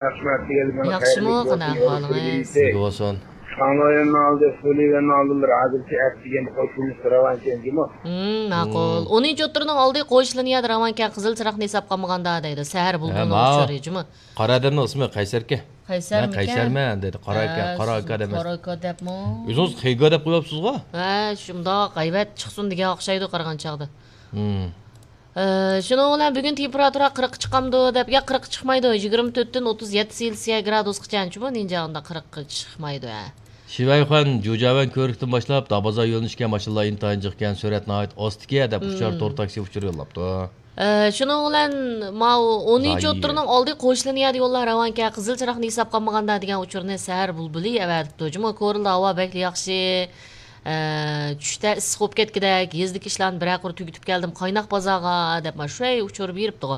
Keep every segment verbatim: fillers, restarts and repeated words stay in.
ياخشىمۇ، قانداق ئەھۋالىڭىز؟ سىزگە بولسۇن. شاڭلۇيۈەننىڭ ئالدى، سۇليۈەننىڭ ئالدىلىرى ھازىرچە ئەپ دېگەن قوشۇنۇش راۋان چەنجىمۇ. ھىم، ماقۇل. ئونىنچى ئوتتۇرىنىڭ ئالدى قوش لىنىيەدە راۋانكەن، قىزىل چىراغنى ھېساب قىلمىغاندا دەيدۇ. سەھەر بۇلبۇلىنىڭ ئۇچۇرى جۇمۇ. قارا ئادەمنىڭ ئىسمى قەيسەركەن. قەيسەرمىكەن؟ مەن قەيسەرمەن دەيدۇ. قارا ئاكا، ھە، قارا ئاكا دەپ. قارا ئاكا دەپمۇ؟ ئۆزىڭىز خېيگا دەپ قويۇپسىزغۇ؟ ھە، شۇنداق غەيۋەت چىقسۇن دېگەن ئوخشايدۇ قارىغان چاغدا. ھىم. ئە، شۇنىڭ بىلەن بۈگۈن تېمپېراتۇرا قىرىققا چىقامدۇ دەپ، ياق، قىرىققا چىقمايدۇ. يىگىرمە تۆتتىن ئوتتۇز يەتتە سېلسىيە گرادۇسقىچە چىمۇ نىنجا ئۇنداق قىرىققا چىقمايدۇ، ھە. شىۋەيخۇەن، جۇجياۋەن كۆۋرۈكتىن باشلاپ دابازا يۆنىلىشكە ماشىنىلار ئىنتايىن جىقكەن، سۈرئەت ناھايىتى ئاستىكەن دەپ ئۇچار تور تاكسى ئۇچۇر يوللاپتۇ. ئە، شۇنىڭ بىلەن ماۋۇ ئونىنچى ئوتتۇرىنىڭ ئالدى قوش لىنىيەدە يوللار راۋانكەن، قىزىل چىراغنى ھېساب قىلمىغاندا دېگەن ئۇچۇرنى سەھەر بۇلبۇلى ئەۋەتىپتۇ. جۇمۇ كورلا ھاۋا بەكلا ياخشى. ئە، چۈشتە ئىسسىق بولۇپ كەتكۈدەك، يېزىدىكى ئىشلارنى بىرەر قۇر تۈگىتىپ كەلدىم، قايناق بازارغا دەپ، مانا شۇ ئۇچۇر بېرىپتىغۇ.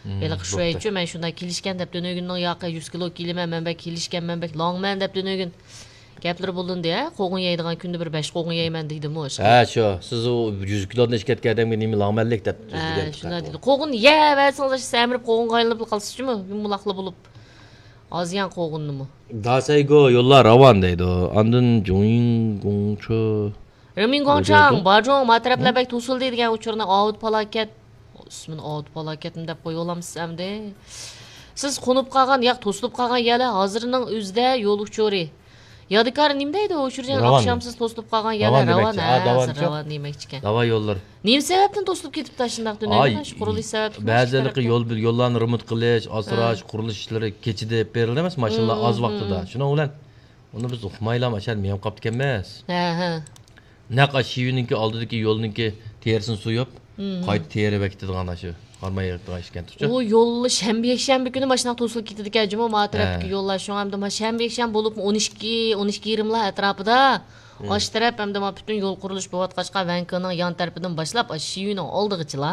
ھېلىقى شۇ بوپتۇ. ئەيتچۇ، مەن شۇنداق كېلىشكەن دەپ، تۈنۈگۈننىڭ ياقى يۈز كىلو كېلىمەن، مەن بەك كېلىشكەنمەن، بەك لاڭمەن دەپ تۈنۈگۈن گەپلىرى بولۇندى، ھە؟ قوغۇن يەيدىغان كۈندە بىر بەش قوغۇن يەيمەن دېدىمۇ، ئىشقىلىپ. ھە، شۇ. سىز ئۇ يۈز كىلودىن ئېشىپ كەتكەن ئادەمگە نېمە لاڭمەنلىك دەپ ھە، سۆزلىگەن شۇنداق دېدى. قوغۇن يەۋەرسىڭىز، ئاشۇ سەمرىپ قوغۇنغا ئايلىنىپ قالسىز جۇمۇ، يۇمىلاقلا بولۇپ. ئازىيان قوغۇننىمۇ. داسەيگو يوللار راۋان دەيدۇ. ئاندىن جۇڭيىڭ گۇڭچۇ. رېمىن گۇاڭچاڭ، باجۇڭ، ما تەرەپلەر بەك توسۇلدى دېگەن ئۇچۇرنى ئاۋۇت پالاكەت. ئىسمىنى ئاۋۇت پالاكەتمۇ دەپ قويۇۋالامسىز ئەمدى؟ سىز قونۇپ قالغان، ياق، توسۇلۇپ قالغان يەرلەر ھازىرنىڭ ئۆزىدە يول ئۇچۇرى. يادىكار نېمە دەيدۇ ئۇچۇرجان؟ ئاخشامسىز توسۇلۇپ قالغان يەرلەر راۋان، دېمەكچى. ھە، ھازىر راۋان دېمەكچىكەن. داۋا يوللىرى. نېمە سەۋەبتىن توسۇلۇپ كېتىپتۇ شۇنداق دۇنيادا؟ شۇ قۇرۇلۇش سەۋەبلىكمۇ؟ بەزىلىرى يول، يوللارنى رېمونت قىلىش، ئاسراش، قۇرۇلۇش ئىشلىرى كېچىدە ئېلىپ بېرىلدى ئەمەس، ماشىنىلار ئاز ۋاقتىدا. شۇنىڭ بىلەن ئۇنى بىز ئۇقمايلا ماشۇ يەردە مېڭىپ قاپتىكەنمىز. ھە، ھە. نەق ئاشۇ شىۋىنىڭكى ئالدىدىكى يولنىڭكى تېرىسىنى سويۇپ، قايتا تېرە بېكىتىدىغان ئاشۇ ھارماي يىغىدىغان ئىشكەن تۇرچۇ. ئۇ يول شەنبە، يەكشەنبە كۈنى ماشىنا توسۇلۇپ كېتىدىكەن جۇمۇ، ما تەرەپتىكى يوللار. شۇڭا ئەمدى ما شەنبە، يەكشەنبە بولۇپمۇ ئون ئىككى، ئون ئىككى يېرىملا ئەتراپىدا. ئاشۇ تەرەپ ئەمدى ما پۈتۈن يول قۇرۇلۇشى بولۇۋاتقاچقا، ۋەنكېنىڭ يان تەرىپىدىن باشلاپ، ئاشۇ شىۋىنىڭ ئالدىغىچىلا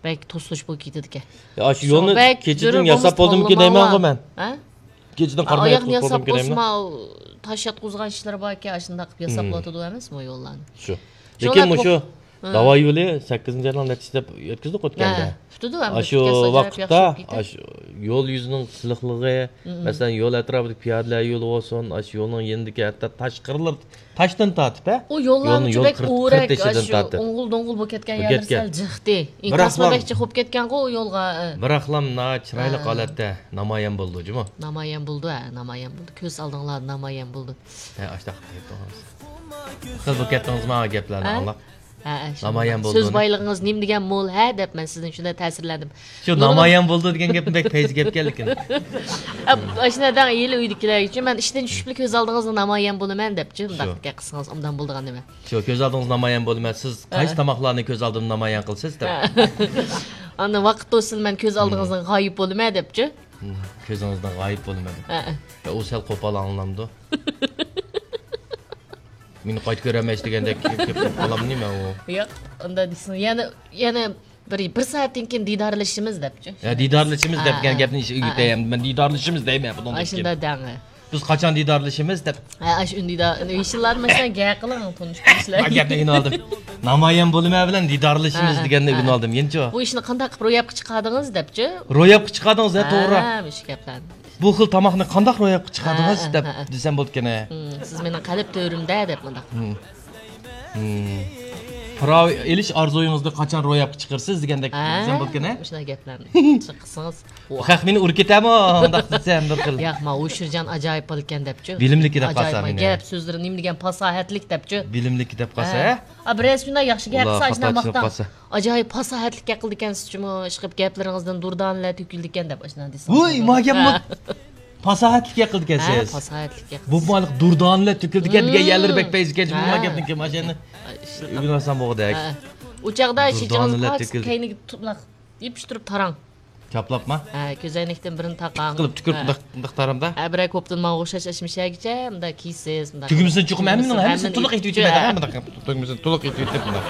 بەك توسۇلۇش بولۇپ كېتىدىكەن. يا، ئاشۇ يولنى كېچىدىن ياساپ بولدىمىكىن دەيمەنغۇ مەن. ھە؟ كېچىدىن قارىماي ياتقىلى بولدۇمكىن دەيمەن. تاش ياتقۇزغان ئىشلىرى باركەن، ئاشۇنداق قىلىپ ياساپلىۋاتىدۇ ئەمەسمۇ يوللارنى؟ شۇ. لېكىن مۇشۇ داۋا يولى سەككىزىنچى ئاينىڭ نەچچىسى دەپ ئۆتكۈزدۇق ئۆتكەندە. ئاشۇ ۋاقىتتا ئاشۇ يول يۈزىنىڭ سىلىقلىقى، مەسىلەن، يول ئەتراپىدىكى پىيادىلەر يولى بولسۇن، ئاشۇ يولنىڭ يېنىدىكى ھەتتا تاش قىرلىرى تاشتىن تارتىپ، ھە؟ ئۇ يوللارنىڭ بەك ئورەك، ئوڭغۇل-دوڭغۇل بولۇپ كەتكەن يەرلىرى سەل جىقتى. ئىنكاسمۇ بەك جىق بولۇپ كەتكەنغۇ ئۇ يولغا. بىراقلام ناھايىتى چىرايلىق ھالەتتە نامايان بولىدۇ جۇمۇ. نامايان بولىدۇ، ھە، نامايان بولىدۇ. كۆز ئالدىڭلاردا نامايان بولىدۇ. ھە، ئاشتاق. خىل بولۇپ كەتتىڭىزما گەپلەرنى ئاڭلاپ؟ ھە، نامايان بولدى. سۆز بايلىقىڭىز نېمە دېگەن مول، ھە، دەپ مەن سىزدىن شۇنداق تەسىرلەندىم. شۇ نامايان بولدى دېگەن گەپنى بەك پەيزى گەپ ئىكەنلىكىنى. ئاشۇنداق دەڭ، ھېلى ئۆيدىكىلەرگىچۇ، مەن ئىشتىن چۈشۈپلا كۆز ئالدىڭىزدا نامايان بولىمەن دەپچۇ، مۇنداق گەپ قىلسىڭىز ئوبدان بولىدىغان نېمە. شۇ، كۆز ئالدىڭىزدا نامايان بولىمەن. سىز قايسى تاماقلارنى كۆز ئالدىمدا نامايان قىلىسىز دەپ. ئاندىن ۋاقىت توسسىلا مەن كۆز ئالدىڭىزدىن غايىب بولىمەن دەپچۇ. كۆزىڭىزدىن غايىب بولىمەن دەپ. يا، ئۇ سەل قوپال ئاڭلىنامدۇ؟ مېنى قايتا كۆرەلمەيسىز دېگەندەك گەپ قىلىپ قالامدۇ نېمە ئۇ؟ ياق، ئۇنداق دېسىڭىز. يەنە، يەنە بىر، بىر سائەتتىن كېيىن دىدارلىشىمىز دەپچۇ. يا، دىدارلىشىمىز دەپ دېگەن گەپنى ئۆگىتەي. مەن دىدارلىشىمىز دەيمەن بۇنىڭدىن كېيىن. ئاشۇنداق دەڭ. بىز قاچان دىدارلىشىمىز دەپ. ھە، ئاشۇ ئۈندىدار، يېشىللار مەسىلەن گەپ قىلىڭ، تونۇش كىشىلەر. ھە، گەپنى ئېلىۋالدىم. نامايان بولىمەن بىلەن دىدارلىشىمىز دېگەننى ئۆگىنىۋالدىم يەنىچۇ. بۇ ئىشنى قانداق قىلىپ روياپقا چىقاردىڭىز دەپچۇ. روياپقا چىقاردىڭىز، ھە، توغرا. ھە، مۇشۇ گەپلەرنى. بۇ خىل تاماقنى قانداق روياپقا چىقاردىڭىز دەپ دېسەم بولىدىكەن. سىز مېنىڭ قەلب تۆرۈمدە دەپ مۇنداق. پىراۋ ئېلىش ئارزۇيىڭىزنى قاچان روياپقا چىقىرىسىز دېگەندەك دېسەم بولىدىكەن. مۇشۇنداق گەپلەرنى قىلسىڭىز. خەق مېنى ئۇرۇپ كېتەرمۇ ئۇنداق دېسەم بىر خىل. ياق، ما ھوشۇرجان ئاجايىپ بالىكەن دەپچۇ. بىلىملىك دەپ قالسا مېنى. گەپ سۆزلىرى نېمە دېگەن پاساھەتلىك دەپچۇ. بىلىملىك دەپ قالسا، ھە؟ ئا، بىرەرسى شۇنداق ياخشى گەپ قىلسا، ئاشۇنداق ۋاقىتتا ئاجايىپ پاساھەتلىك گەپ قىلىدىكەنسىز جۇمۇ، ئىشقىلىپ گەپلىرىڭىزدىن دۇردانىلەر تۆكۈلىدىكەن دەپ ئاشۇنداق دېسىڭىز. ۋۇي، ما گەپمۇ پاساھەتلىك گەپ قىلىدىكەنسىز. ھە، پاساھەتلىك گەپ قىلىدىكەنسىز. بۇ مالىق دۇردانىلەر تۆكۈلىدىكەن دېگەن يەرلىرى بەك پەيزىكەن جۇمۇ، ما گەپنىڭكى ماشىنىنى ئۆگىنىۋالسام بولغۇدەك. ئۇ چاغدا شىجىڭىز پاكىز كەينىگە تۇپلاق يېپىشتۇرۇپ تاراڭ. چاپلاپما؟ ھە، كۆزەينەكتىن بىرنى تاقاڭ. قىلىپ تۈكۈرۈپ مۇنداق، مۇنداق تارامدا. ھە، بىرەر كوپتىن ماڭا ئوخشاش ئەشمىشەگىچە مۇنداق كىيسىز، مۇنداق. تۈگمىسىنى چوقۇم ھەممىنىڭ، ھەممىسىنى تولۇق ئېتىۋېتىمەن، ھە، مۇنداق. تۈگمىسىنى تولۇق ئېتىۋېتىپ مۇنداق.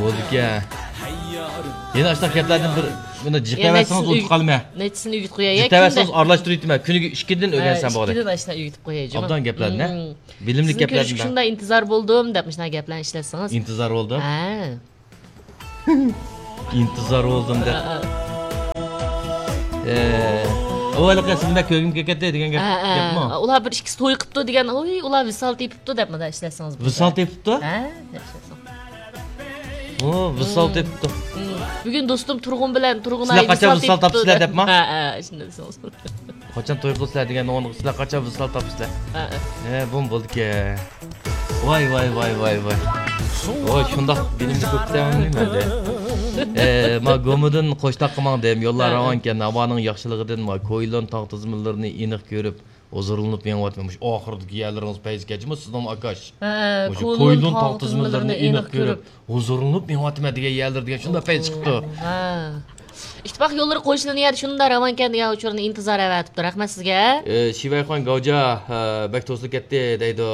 بولدىكەن. يەنە ئاشۇنداق گەپلەردىن بىر، بۇنى جىق دەۋەرسىڭىز ئۇنتۇپ قالىمەن. نەچچىسىنى ئۆگىتىپ قوياي. جىق دەۋەرسىڭىز ئارىلاشتۇرۇۋېتىمەن. كۈنىگە ئىككىدىن ئۆگەنسەم بولدى. ئىككىدىن ئاشۇنداق ئۆگىتىپ قوياي جۇمۇ. ئوبدان گەپلەرنى. بىلىملىك گەپلەرنى. شۇنداق ئىنتىزار بولدۇم دەپ مۇشۇنداق گەپلەرنى ئىشلەتسىڭىز. ئىنتىزار بولدۇم. ھە. ئىنتىزار بولدۇم دەپ. ھە، ھە. ئەۋۋەلقى سىزنى بەك كۆرگۈم كېلىپ كەتتى دېگەن گەپ، ھە، ھە. گەپمۇ؟ ئۇلار بىر ئىككىسى توي قىپتۇ دېگەن، ئۇي، ئۇلار ۋىسال تېپىپتۇ دەپ مۇنداق ئىشلەتسىڭىز بولىدۇ. ۋىسال تېپىپتۇ؟ ھە، دەپ ئىشلەتسىڭىز. ئۇ ۋىسال تېپىپتۇ. بۈگۈن دوستۇم تۇرغۇن بىلەن تۇرغۇن سىلەر ئاي قاچان ۋىسال ۋىسال تاپتى تاپىسىلەر دەپ. دەپما؟ ھە، ھە، شۇنداق دېسىڭىز. قاچان توي قىلىسىلەر دېگەن، ئۇنىڭغا سىلەر قاچان ۋىسال تاپىسىلەر؟ ھە، ھە. ھە، بۇمۇ بولدىكەن. ۋاي، ۋاي، ۋاي، ۋاي، ۋاي. ۋاي، شۇنداق بىلىملىك بوپتىمەن مەندە. ئە، ما گومىدىن قوشتاققا ماڭدىم. يوللار ھە، ھە. راۋانكەن، ھاۋانىڭ ياخشىلىقىدىن ما كويلون تاغ تىزمىلىرىنى ئېنىق كۆرۈپ، ھۇزۇرلىنىپ مېڭىۋاتىمەن. مۇشۇ ئاخىرىدىكى يەرلىرىڭىز پەيزى كەچمۇ سىزنىڭ ئاكاش. ھە، مۇشۇ كويلون كويلون تاغ تاغ تىزمىلىرىنى تىزمىلىرىنى ئېنىق ئېنىق كۆرۈپ، كۆرۈپ، ھۇزۇرلىنىپ مېڭىۋاتىمەن دېگەن يەرلىرى دېگەن شۇنداق پەيزى چىقىپتۇ. ھە. ئىتتىپاق يوللىرى قوشۇلىدىغان يەردە شۇنداق راۋانكەن دېگەن ئۇچۇرنى ئىنتىزار ئەۋەتىپتۇ. رەھمەت سىزگە. ئى، شىۋەيخۇەن گاۋجا، ھە، بەك توسۇلۇپ كەتتى دەيدۇ.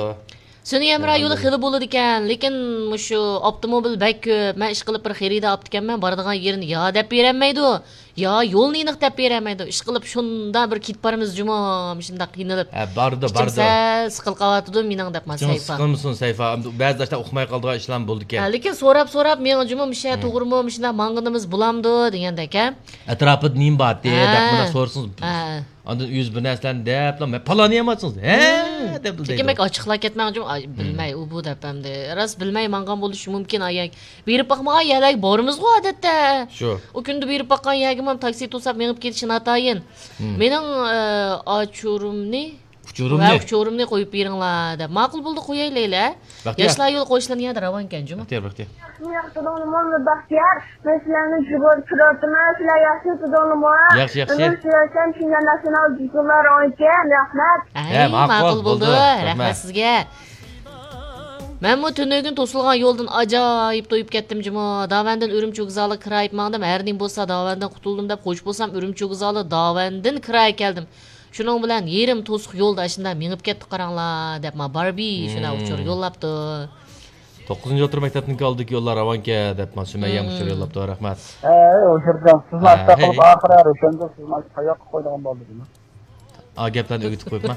سۈنئىي ھەمراھ يولى خېلى بولىدىكەن، لېكىن مۇشۇ ئاپتوموبىل بەك كۆپ. مەن ئىشقىلىپ بىر خېرىدار ئاپتىكەنمەن، بارىدىغان يېرىنى يا دەپ بېرەلمەيدۇ، يا يولنى ئېنىق دەپ بېرەلمەيدۇ. ئىشقىلىپ شۇنداق بىر كېتىپ بارىمىز جۇمۇ، مۇشۇنداق قىينىلىپ. ھە، بارىدۇ، ئىچىم بارىدۇ. سەل سىقىلىپ قالىۋاتىدۇ مېنىڭ دەپمەن، ئىچىڭ سەيپا. سىقىلمىسۇن، سەيپا. بەزىدە ئۇقماي قالىدىغان ئىشلارمۇ بولىدىكەن. ھە، لېكىن سوراپ-سوراپ مېڭە جۇمۇ، مۇشۇ توغرىمۇ، مۇشۇنداق ماڭغىنىمىز بولامدۇ دېگەندەك، ھە؟ ئەتراپىدا نېمە بارتى دەپ مۇنداق سورىسىڭىز. ھە. ئاندىن ئۆزى بىر نەرسىلەرنى دەپلا، «مەن پالان يەمەتسىڭىز، ھە؟» دەپ لېكىن بەك ئاچچىقلاپ كەتمەڭ جۇمۇ، ئاي، بىلمەي ئۇ بۇ دەپ ئەمدى. راست بىلمەي ماڭغان بولۇشى مۇمكىن، ئايەك. بېرىپ باقمىغان يەرلەرگە بارىمىزغۇ ئادەتتە. شۇ. ئۇ كۈندە بېرىپ باققان يەرگىمۇ تاكسى توساپ مېڭىپ كېتىشى ناتايىن. مېنىڭ، ئە، ئاچۇرۇمنى، ئۇچۇرۇمنى. ۋە ئۇچۇرۇمنى قويۇپ بېرىڭلار دەپ. ماقۇل بولدى، قويايلى. بەختىيار. ياشلار يولى قوشۇلىدىغان يەردە راۋانكەن جۇمۇ. بەختىيار، بەختىيار. ياخشى، ياخشى، بەختىيار. مەن سىلەرنى جۇبۇدا كۆرۈۋاتىمەن، سىلەر ياخشى ئۆتىدىڭلارمۇ؟ ياخشى، ياخشى. ئۆمۈر سۈرسەم، شىنجاڭ ناسىيونال جۇگۇلار ئوينىتىم، رەھمەت. ھەي، ھە، ماقۇل، ماقۇل بولدى، بولدى، رەھمەت. رەھمەت سىزگە. مەنمۇ تۈنۈگۈن توسۇلغان يولدىن ئاجايىپ تويۇپ كەتتىم جۇمۇ. داۋەندىن ئۈرۈمچى ۋوگزالىغا كىرايىپ ماڭدىم، ھەر نېمە بولسا داۋەندىن قۇتۇلدۇم دەپ خوش بولسام، ئۈرۈمچى ۋوگزالى داۋەندىن كىرايىپ كەلدىم. شۇنىڭ بىلەن يېرىم توسۇق يولدا ئاشۇنداق مېڭىپ كەتتى قاراڭلار دەپ ما باربى شۇنداق ئۇچۇر يوللاپتۇ. توققۇزىنچى ئوتتۇرا مەكتەپنىڭكى ئالدىدىكى يوللار راۋانكەن دەپ مانا سۈمەييە مۇشۇ يوللاپتۇ، رەھمەت. ھەي، ئوشۇرجان، سىزنى ھە، ئاشۇنداق قىلىپ ھەي. ئاخىرى ھەر ئۆشەندە سىزنى قاياققا قويىدىغان بولدى دېمە. ئا، گەپلەرنى ئۆگىتىپ قويۇپما.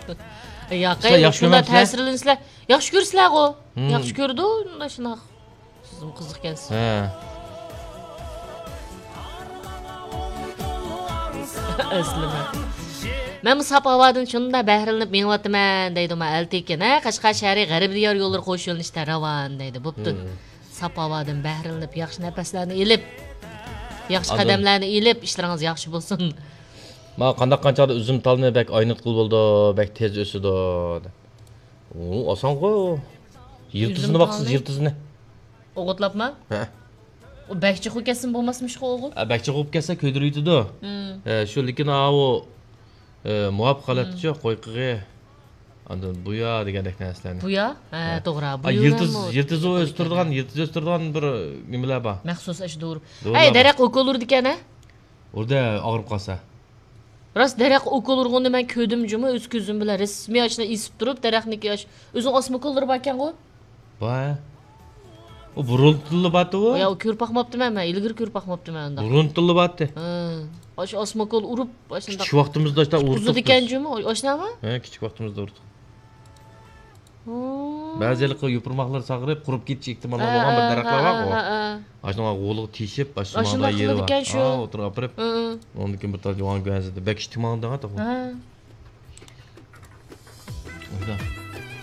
ياقەي، سىلەر ياخشى شۇنداق كۆرمەمسىلەر؟ تەسىرلىنىسىلەر. ياخشى كۆرىسىلەرغۇ؟ ھىم. ياخشى كۆرىدۇ، شۇنداق. سىزمۇ قىزىق ئىكەنسىز. ھە. ئەسلىمە. مەنمۇ ساپ ھاۋادىن شۇنداق بەھرىلىنىپ مېڭىۋاتىمەن دەيدۇ ما ئەلتىكىن. ھە، قەشقەر شەھىرى غەربىي دىيار يوللىرى قوش يۆنىلىشتە راۋان دەيدۇ. بوپتۇ. ھە. ساپ ھاۋادىن بەھرىلىنىپ، ياخشى نەپەسلەرنى ئېلىپ، ياخشى ئاندىن قەدەملەرنى ئېلىپ، ئىشلىرىڭىز ياخشى بولسۇن. ما قانداق قانچادا ئۈزۈم تالنى بەك ئاينىتقىلى بولىدۇ، بەك تېز ئۆسىدۇ. ئۇ ئاسانغۇ. يىلتىزىنى ئۈزۈم باقسىز، تالنى؟ يىلتىزىنى. ئوغۇتلاپما؟ ھە. ئۇ بەك جىق بولۇپ كەتسىمۇ بولماسمىشقۇ ئوغۇت؟ ھە، بەك جىق بولۇپ كەتسە كۆيدۈرۈۋېتىدۇ. ھە، شۇ، لېكىن ئاۋۇ، ئە، مۇۋاپىق ھالەتتىچۇ، قويقىغى. ئاندىن بۇيا دېگەندەك نەرسىلەرنى. بۇيا؟ ھە، ھە. توغرا. ئا، بۇيا يىلتىز، يىلتىزى ئۆستۈرىدىغان، يىلتىز ئۆستۈرىدىغان بىر نېمىلەر بار. مەخسۇس ئاشۇ دورا. دورىلار ئەي، بار. دەرەخ ئوكۇل ئۇرىدىكەن، ھە؟ ئۇردا ئاغرىپ قالسا. راست، دەرەخ ئوكۇل ئۇرغۇننى مەن كۆردۈم جۇمۇ، ئۆز كۆزۈم بىلەن. رەسمىي ئاشۇنداق ئېسىپ تۇرۇپ، دەرەخنىڭكى ئاش-، ئۆزىنىڭ ئاسما ئوكۇللىرى باركەنغۇ؟ بار. ئۇ بۇرۇن تىللا بارتى ئۇ. يا، ئۇ كۆرۈپ باقماپتىمەن مەن، ئىلگىرى كۆرۈپ باقماپتىمەن ئۇنداق. بۇرۇن تىللا بارتى. ھە. ئاشۇ ئاسما ئوكۇل ئۇرۇپ، ئاشۇنداق. كىچىك ۋاقتىمىزدا ئاشۇنداق ئۇردۇق بىز. جۇمۇ، ئاشۇنداقمۇ؟ ھە، كىچىك ۋاقتىمىزدا ئۇردۇق. ھە. بەزى ھېلىقى يوپۇرماقلىرى ساغىرىپ، قۇرۇپ كېتىش ئېھتىماللىقى بولغان بىر دەرەخلەر بارغۇ. ھە، ھە. ئاشۇنىڭ غولىغا تېشىپ، ئاشۇ ئاشۇنداق يېرى بار. قىلىدىكەن شۇ. ھا، ئوتتۇرىغا ئاپىرىپ. ھە، ھە. ئۇنىڭدىن كېيىن بىر تال يوغان گۆھەنزىدە بەك ئىشتىمالدىغان تاپا. ھە.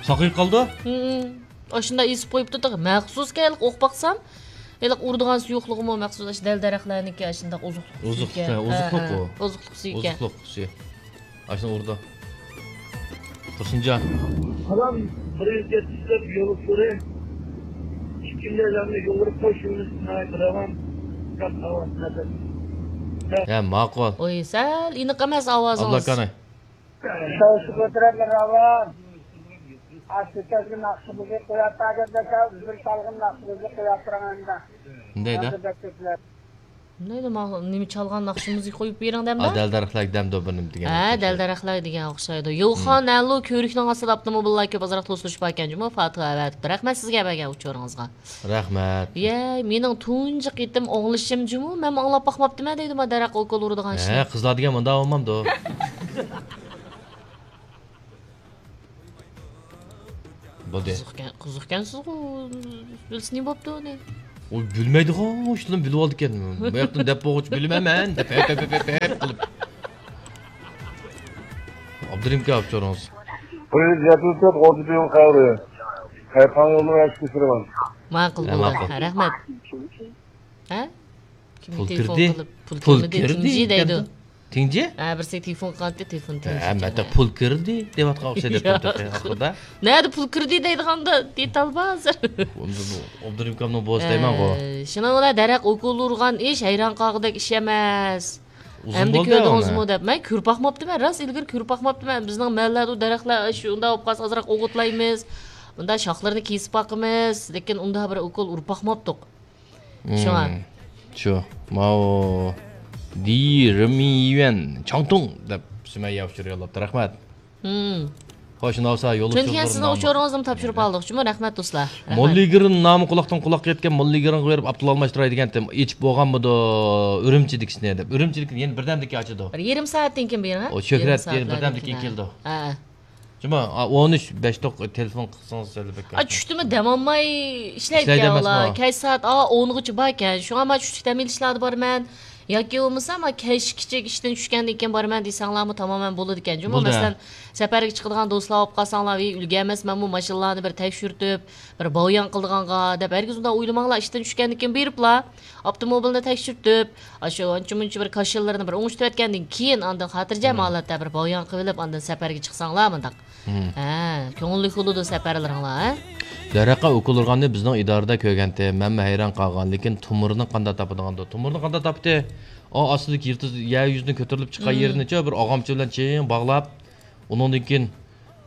ساقىيىپ قالدى؟ ھە، ھە. ئاشۇنداق ئېسىپ قويۇپتۇ تېخى. مەخسۇس كەلىپ ئوقۇپ باقسام، ھېلىقى ئۇرىدىغان سۇيۇقلۇقىمۇ مەخسۇس ئاشۇ دەل دەرەخلەرنىڭكى ئاشۇنداق ئوزۇقلۇق سۈيىكەن. ئوزۇقلۇق، ھە، ئوزۇقلۇق ھە، ئۇ. ئوزۇقلۇق سۈيىكەن. ئوزۇقلۇق سۈيى. ئاشۇنى ئۇرىدۇ. تۇرسۇنجان. ئانام بىرىنچى يەتكۈزۈپ يوللۇق سورى. ئىككىنچى ئادەمنى يوللىرى قوشۇۋېلىش ناھايىتى راۋان. گەپ راۋان، نەپەس. ھە، ماقۇل. ئوي، سەل ئېنىق ئەمەس ئاۋازىڭىز. ئابلىكاناي. شاۋشۇ كۆتۈرەللەر راۋان. ئاشۇ كەلگەن ناخشىمىزنى قويۇپ بەرگەندە، بىر سالغىن ناخشىمىزنى قويۇپ بېرىڭ ئەمدى. شۇندايدۇ. ئەمدى بەك كۆپلەر. نېمە، نېمە چالغان ناخشىمىزنى قويۇپ بېرىڭ دەمدە؟ دەل-دەرەخلەر دەمدۇ بىر نېمە دېگەن. ھە، دەل-دەرەخلەر دېگەن ئوخشايدۇ. يوخان ھەلۇ كۆۋرۈكنىڭ ئاستىدا ئاپتوموبىللار كۆپ، ئازراق توسۇلۇشۇپ باركەن جۇمۇ، فاتىھە ئەۋەتىپتۇ. رەھمەت سىزگە بەرگەن ئۇچۇرىڭىزغا. رەھمەت. يەي، مېنىڭ تۇنجى قېتىم ئاڭلىشىم جۇمۇ، مەنمۇ ئاڭلاپ باقماپتىمەن دەيدۇ، ما دەرەخ ئوكۇل ئۇرىدىغان ئىشنى. ھە، قىزلار دېگەن مۇنداق بولمامدۇ؟ بولدى. قىزىقكەن، قىزىقكەنسىزغۇ، بىلسە نېمە بوپتۇ ئۇنى؟ ئۇ بىلمەيدىغۇ، شۇندىن بىلىۋالىدىكەن. بۇ ياقتىن دەپ بولغۇچە بىلمەيمەن، دەپ، ھەپ، ھەپ، ھەپ، ھەپ، ھەپ قىلىپ. درىمكا ئاپشورىڭىز. Привет, я тут тот, вот тебе хавры. Хайпан, ну, я списывал. ماقۇل ھە، بولدى. ماقۇل. رەھمەت. ھە؟ كىم پۇل تېلېفون كىردى؟ قىلىپ، پۇل پۇل كىرمىدى، كىردى تىڭجى دەيدۇ. دېگەندە. تىڭجى؟ ھە، بىرسى تېلېفون قىلغانتى، تېلېفون ھە، تىڭجى مەتە كەلگەن. پۇل كىردى دەۋاتقان ئوخشايدۇ ياق. ئاخىردا. نەدە پۇل كىردى دەيدىغاندا، دېتال بار ھازىر. ئۇندا بۇ ئابدۇرېھىم ئاكامنىڭ بوۋىسى دەيمەنغۇ. ئە، شۇنىڭ بىلەن دەرەق ئوكۇل ئۇرغان ئىش ھەيران قالغۇدەك ئىش ئەمەس. ئۇزۇن ئەمدى بولدى كۆردىڭىزمۇ ئۇنى. دەپ. مەن كۆرۈپ باقماپتىمەن، راست ئىلگىرى كۆرۈپ باقماپتىمەن. بىزنىڭ مەھەللەدە دەرەخلەر شۇنداق بولۇپ قالسا ئازراق ئوغۇتلايمىز. ئۇنداق شاخلىرىنى كېسىپ باقىمىز. لېكىن ئۇنداق بىر ئوكۇل ئۇرۇپ باقماپتۇق. شۇڭا. مم. شۇ. ماۋۇ. دى رېميۈەن چاڭتۇڭ دەپ سۈمەييە ئۇچۇر يوللاپتۇ. رەھمەت. مم. خوش، ناۋسا يول چۈنكى ئۇچۇرلىرى سىزنىڭ ناملىق. ئۇچۇرىڭىزنى تاپشۇرۇپ ئالدۇق. شۇمۇ رەھمەت دوستلار. رەھمەت. موللىگىرىن نامى قۇلاقتىن قۇلاققا يەتكەن، موللىگىرىنغا بېرىپ ئاپتول ئالماشتۇراي دېگەنتىم. ئېچىپ بولغانمىدۇ ئۈرۈمچىدىكىسىنى دەپ. ئۈرۈمچىدىكى يەنە بىردەمدىن كېيىن ئاچىدۇ. بىر يېرىم سائەتتىن كېيىن بېرىڭ، ھە؟ ئۇ شۆھرەت يېرىم يەنە سائەتلەردىن بىردەمدىن كېيىن كېيىن. كېلىدۇ. ھە. جۇما، ئا، ئون ئۈچ بەش توق تېلېفون قىلسىڭىز سەل بەك. ئا، چۈشتىمۇ دەم ئالماي ئىشلەيدىكەن ئۇلار. كەچ سائەت، ئا، ئونغىچە باركەن. شۇڭا مەن چۈشلۈك دەم ئېلىشلاردا بارىمەن. ياكى بولمىسا، ما كەچ كىچىك ئىشتىن چۈشكەندىن كېيىن بارىمەن دېسەڭلارمۇ تامامەن بولىدىكەن. جۇما، بولدى. مەسىلەن، سەپەرگە چىقىدىغان دوستلار بولۇپ قالساڭلار، ۋىي، ئۈلگەرمەسمەنمۇ ماشىنىلارنى بىر تەكشۈرتۈپ، بىر باۋيان قىلىدىغانغا دەپ، ھەرگىز ئۇنداق ئويلىماڭلار. ئىشتىن چۈشكەندىن كېيىن بېرىپلا، ئاپتوموبىلنى تەكشۈرتۈپ، ئاشۇ ئانچە-مۇنچە بىر كاشىلىرىنى بىر ئوڭشىتىۋەتكەندىن كېيىن، ئاندىن خاتىرجەم ھالەتتە بىر باۋيان قىلىۋېلىپ، ئاندىن سەپەرگە چىقساڭلار مۇنداق. ھە، كۆڭۈللۈك بولىدۇ سەپەرلىرىڭلار، ھە؟ دەرەقە ئۇكۇلۇرغاننى بىزنىڭ ئىدارىدە كۆرگەنتى، مەنمۇ ھەيران قالغان، لېكىن تۇمۇرنى قانداق تاپىدىغاندۇ؟ تۇمۇرنى قانداق تاپتى؟ ئا، ئاستىدىكى يىلتىز يەر يۈزىدىن كۆتۈرۈلۈپ چىققان يېرىنىچۇ بىر ئاغامچا بىلەن چىڭ باغلاپ، ئۇنىڭدىن كېيىن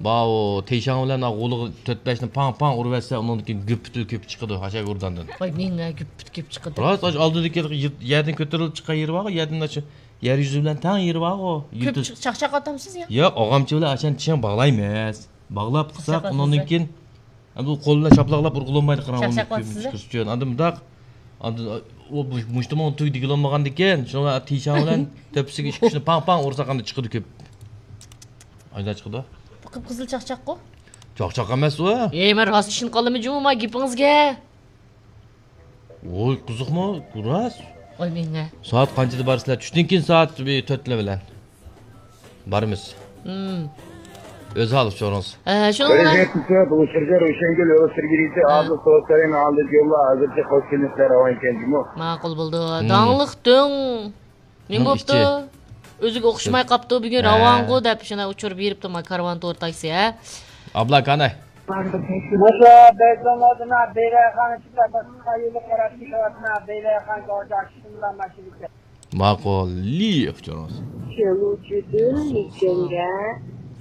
باۋۇ تېشاڭ بىلەن غولىغا تۆت بەشنى پاڭ پاڭ ئۇرۇۋەتسە، ئۇنىڭدىن كېيىن گۈپپۈتۈل كۆپۈپ چىقىدۇ، ھاشا گۇرداندىن. ۋاي، مېڭە گۈپپۈت كۆپۈپ چىقىدۇ. راست، ئاشۇ ئالدىدىكى يىل-، يەردىن كۆتۈرۈلۈپ چىققان يېرى بارغۇ، يەردىن ئاشۇ يەر يۈزى بىلەن تەڭ يېرى بارغۇ، كۆپ يىلتىز. چىق-، چاقچاق ئاتامسىز يا؟ ياق، ئاغامچا بىلەن ئاشۇنى چىڭ باغلايمىز. باغلاپ قىلساق، چاقچاق ئۇنىڭدىن ئاتىسىز. كېيىن ئەمدى ئۇ قول بىلەن چاپلاقلاپ ئۇرغىلى بولمايدۇ، قاراڭغۇ چاقچاق ئاتىسىز. چىقىرىش ئۈچۈن. ئاندىن مۇنداق، ئاندىن ئۇ مۇشتۇمنىڭ تۈگى دېگىلى بولمىغاندىكىن، شۇڭا تېشاڭ بىلەن تۆپىسىگە ئىككى ئۈچنى پاڭ پاڭ ئۇرساق ئەمدى چىقىدۇ كۆپ. ئايدا چىقىدۇ. قىپقىزىل چاقچاققۇ؟ چاقچاق ئەمەس ئۇ. ئەي، مەن راست ئىشىنىپ قالدىم جۇمۇ ما گېپىڭىزگە. ۋوي، قىزىقمۇ؟ راست. ۋاي، مېڭە. سائەت قانچىدا بارىسىلەر؟ چۈشتىن كېيىن سائەت بىر تۆتلەر بىلەن بارىمىز. مم. ئۆز ھالى سورىڭىز. ئە، شۇنىڭ بىلەن بىرىنچى تۇتۇپ، ئۇچۇرغا روشەنگۈل ئۆستۈرگىلىسى ھە. ھازىر توسايىن ئالدى يوللار ھازىرچە قوش كېلىشلەر راۋان ئىكەن جۇمۇ. ماقۇل بولدى. مم. داڭلىق دۆڭ. نېمە بوپتۇ؟ ئۆزىگە ئوخشىماي قاپتۇ، بۈگۈن ھە. راۋانغۇ دەپ شۇنداق ئۇچۇر بېرىپتۇ، ما كارۋان تور تاكسى، ھە؟ ئابلا كاناي. ماشا بەزلەنلەردىن بېرەخان چىقىپ، قايىلى قاراپ كېتىۋاتنا، بېرەخان گاۋجاكىسىنلا ماشىنىسى. ماقۇل، لىف جونۇس. شيلۇچۈدىن مىچەنگە،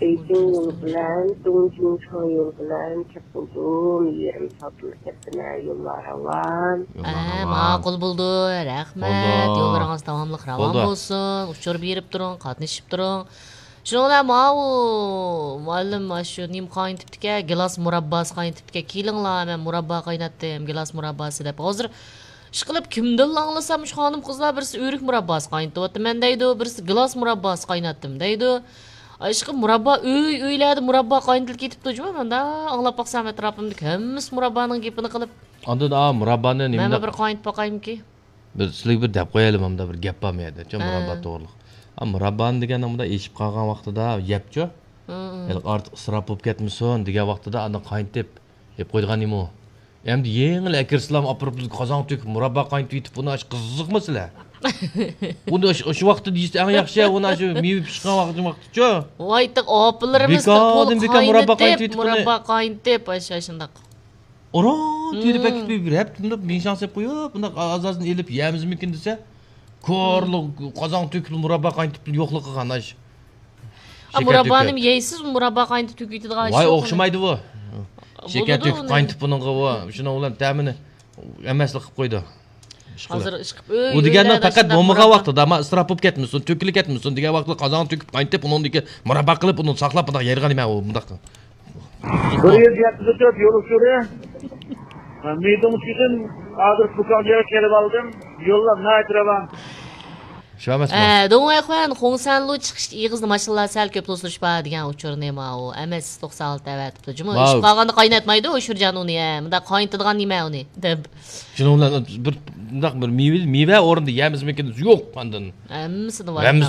بېيجىڭ يولى بىلەن، دۇڭجىڭچۇاڭ يولى بىلەن چاپلىدىم، يېرىم سائەتتىن كەتتىمەن، يوللار راۋان. يوللار ئە، راۋان. ماقۇل بولدى، رەھمەت، بولدى. يوللىرىڭىز داۋاملىق راۋان بولدى. بولسۇن، ئۇچۇر بېرىپ تۇرۇڭ، قاتنىشىپ تۇرۇڭ. شۇنىڭ بىلەن ماۋۇ مۇئەللىم ئاشۇ نېمە قاينىتىپتىكەن، گىلاس مۇرابباسى قاينىتىپتىكەن، كېلىڭلار، مەن مۇراببا قايناتتىم، گىلاس مۇرابباسى دەپ. ھازىر ئىشقىلىپ، كىمدىنلا ئاڭلىسام، شۇ خانىم-قىزلار بىرسى ئۆرۈك مۇرابباسى قاينىتىۋاتىمەن دەيدۇ، بىرسى گىلاس مۇرابباسى قايناتتىم دەيدۇ. ئىشقىلىپ، مۇراببا ئۆي-ئۆيلەردە مۇراببا قاينىتىلىپ كېتىپتۇ جۇمۇ، مەن ئاڭلاپ باقسام، ئەتراپىمدىكى ھەممىسى مۇراببانىڭ گېپىنى قىلىپ. ئاندىن، ئا، مۇراببانى مەنمۇ نېمىنداق بىر قاينىتىپ باقايمىكى؟ بىر سىلىگە بىر دەپ قويايلى، مۇندا بىر گەپ بار مۇ يەردە، چۈ، ھە. مۇراببا توغرىلىق. ئا، مۇراببانى دېگەن مۇندا ئېشىپ قالغان ۋاقتىدا يەپچۇ، ھە، ھە. ھېلىقى ئارتۇق ئىسراپ بولۇپ كەتمىسۇن دېگەن ۋاقتىدا ئاندىن قاينىتىپ يەپ قويىدىغان نېمە ئۇ؟ ئەمدى يېڭىلا ئەكىرسىلام ئاپىرىپ قازانغا تۆكۈپ مۇراببا قاينىتىپ يېتىپ، بۇنى ئاش قىزىقما سىلەر. ئۇنى ئاشۇ، ئاشۇ ۋاقىتتا دېيىسە ئەڭ ياخشى، ئۇنى ئاشۇ مېۋە پىشقان ۋاقتى، ۋاقتىچۇ. ۋايتىق ئاپىلىرىمىز بىكاردىن بىكار مۇراببا قاينىتىپ، مۇراببا قاينىتىپ، ئاشۇ شۇنداق. ئوران تۈگىدە پەكىتىپ بېرىپ، بۇنداق مىڭشاڭ سېلىپ قويۇپ، بۇنداق ئاز-ئازدىن ئېلىپ يەمىزمىكىن دېسە، كورلۇق قازانغا تۆكۈپ مۇراببا قاينىتىپ يوقلۇق قىلغان ئاش. ئا، شېكەر مۇراببانىمۇ تۆكۈپ يەيسىز، مۇراببا قاينىتىپ تۆكۈۋېتىدىغان ئىش ۋاي، يوق ئۇنى. ئوخشىمايدۇ بۇ. شېكەر بولىدۇ تۆكۈپ ئۇنى. قاينىتىپ بۇنىڭغا بۇ، شۇنىڭ بىلەن تەمىنى ئەمەسلىك قىلىپ قويىدۇ. ئىشقىلىپ. ھازىر ئىشقىپ، ئۇ دېگەندە ئۆيلەردە پەقەت شۇنداق بولمىغان مۇراببا. ۋاقتىدا، ما ئىسراپ بولۇپ كەتمىسۇن، تۆكۈلۈپ كەتمىسۇن دېگەن ۋاقتىدا قازانغا تۆكۈپ قاينىتىپ، ئۇنىڭدىكى مۇراببا قىلىپ، ئۇنى ساقلاپ، بۇنداق يەيدىغان نېمە ئۇ، بۇنداق. بىر يۈز يەتمىش تۆت يول ئۇچۇرى. مىدىڭ ئۈچۈن ھازىر پۇكاڭ يەرگە كېلىپ ئالدىم. يوللار ناھايىتى راۋان. شۇ ئەمەسمۇ؟ ئە، دۇڭۋەيخۇەن، خۇڭسەنلۇ چىقىشتا ئېغىزدا ماشىنىلار سەل كۆپ توسۇلۇش بار دېگەن ئۇچۇرنى ماۋۇ ئەمەس توقسان ئالتە ئەۋەتىپتۇ. جۇمۇ، ماۋۇ. ئىشىپ قالغاندا قايناتمايدۇ، ئۇشۇرجان ئۇنى، ھە. مۇنداق قاينىتىدىغان نېمە ئۇنى، دەپ. شۇنىڭ بىلەن بىر، مۇنداق بىر مېۋە، مېۋە ئورنىدا يەمىزمىكىن يوق ئاندىن. ھەممىسىدە بار. ھەممىسى